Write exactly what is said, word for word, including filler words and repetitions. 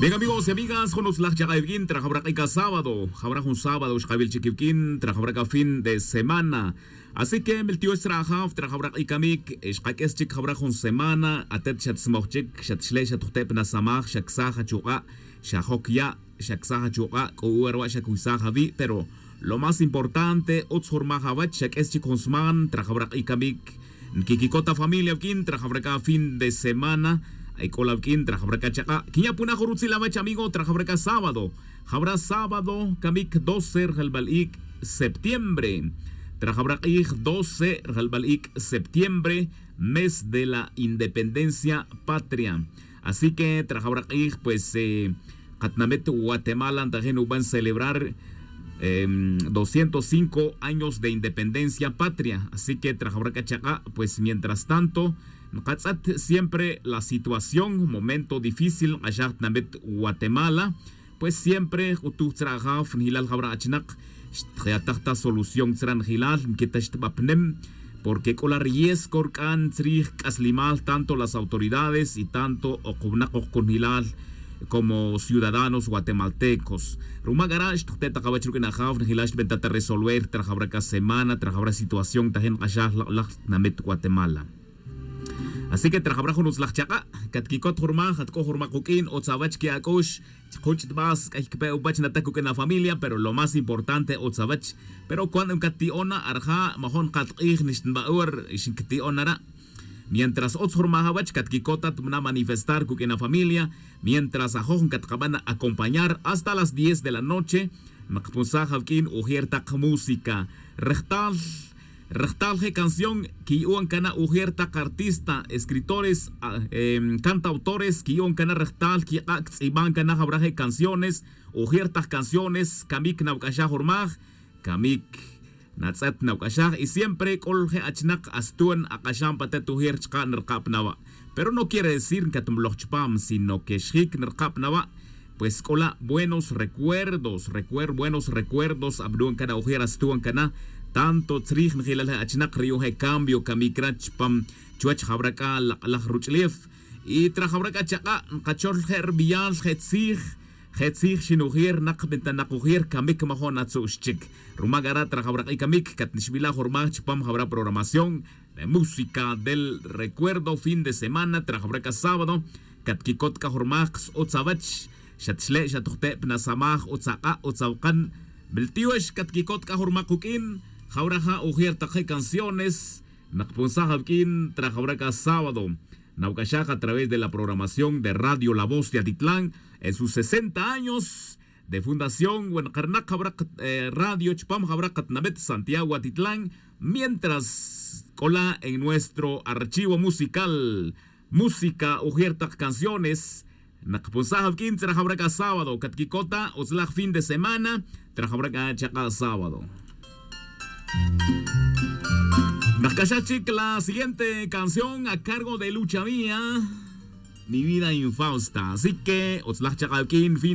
Bien, amigos y amigas, jun utzlaj chaq'a' iwik'in trajawra q'ik asábado. Jawra jun sábado xqawil chik iwik'in trajawra k'a fin de semana. Así que miltiyox tzra' ajaw trajawra q'ik kamik, xqak'is chik jawra jun semana atet xatsmoj chik, xatxle' xatjute' pa nasamaj, xaksaj achuq'a', xajok ya', xaksaj achuq'a', k'o uwa rwa' xakuysaj awi'. Pero lo más importante utz jun rmaj awach xak'is chik jun sman trajawra q'ik kamik. Nkikikot afamilia wik'in trajawra k'a fin de semana. Ay k'ola wik'in trajawra k'a chaq'a' kinya' puna jun rutzil awach amigo trajawra k'a sábado. Jawra sábado kamik doce rjalbal ik' septiembre. Trajawra q'ij doce rjalbal ik' septiembre, mes de la independencia patria. Así que trajawra q'ij pues, qatinamit guatemala ntajin uban celebrar doscientos cinco años de independencia patria. Así que trajawra k'a chaq'a' pues mientras tanto nqatz'et siempre la situación momento difícil nq'axaj tinamit guatemala. Pues siempre jutuj tzra' ajaw njilal jawra achnaq xtjayataj ta solución tzra' njilal nkita xtbapnem. Porque k'ola riesgo rk'an tzrij k'aslimal tanto las autoridades y tanto oq wnak oq kunjilal como ciudadanos guatemaltecos. Ruma k'ara' xtjute' taq awach ruk'in ajaw njilal xtbenta ta resolver trajawra k'a semana trajawra situación tajin nq'axaj lak'laj tinamit guatemala. Así que trajawra jun utzlaj chaq'a' katkikot jun rmaj atk'o jun rmaj quk'in utz awach ki' ak'ux. Chk'uch' tb'as k'ay kpe' upach natak uk'in afamilia pero lo más importante utz awach. Pero cuando nkati'on na arja' majon qat q'ij nixtinb'a' ur xinkti'on nara'. Mientras utz jun rmaj awach katkikot at mna' manifestar kuk'in afamilia. Mientras ajoj nkatqab'an acompañar hasta las diez de la noche. Naqpunsaj awk'in ujer taq música rejtal. Rejtal je' canción kiyu'on kana' ujer taq artista escritores, cantautores kiyu'on kana' rejtal kiq'a' ktz'ib'an kana' jawra je' canciones. Ujer taq canciones kamik nawk'axaj urmaj kamik natz'et nawk'axaj y siempre k'ol je' achnaq astu'n aq'axan pa tet ujer chqa' nrqab' nawa'. Pero no quiere decir nkatmloj chpam sino que xjik nrqab' nawa'. Pues k'ola' buenos recuerdos recuer buenos recuerdos ab'nu'n kana' ujer astu'n kana'. Tanto tzrij njilal je' achnaq ri yu'un je' cambio kamik ra chpam chuwech jawra k'a lak'laj ruch'lef. Y trajawra k'a chaq'a' nqachol je' rb'iyal je' tzij je' tzij xinujir naq b'intanaq ujir kamik majo'n atzu'x chik. Ruma k'ara' trajawra q'i' kamik katnixb'ilaj urmaj chpam jawra programación de música del recuerdo fin de semana trajawra k'a sábado. Katkikot k'a jurmaj qs utz awach xatxle' xatujte' pnasamaj utz aq'a' utz awqan. Miltiyox katkikot k'a jurmaj quk'in jawra ja' ujer taq je' canciones. Naqpunsaj awk'in trajawra k'a sábado nawk'axaj a través de la programación de radio la voz de atitlán en sus sesenta años de fundación we nqarnaq jawra radio chpam jawra qatinamit santiago atitlán. Mientras k'ola' en nuestro archivo musical música ujer taq canciones. Naqpunsaj awk'in tzra jawra k'a sábado katkikota utzlaj fin de semana. Tzra jawra k'a chaq'a' sábado. Naqk'axaj chik la siguiente canción a cargo de lucha mía. Mi vida infausta así que utzlaj chaq'a' awk'in fin.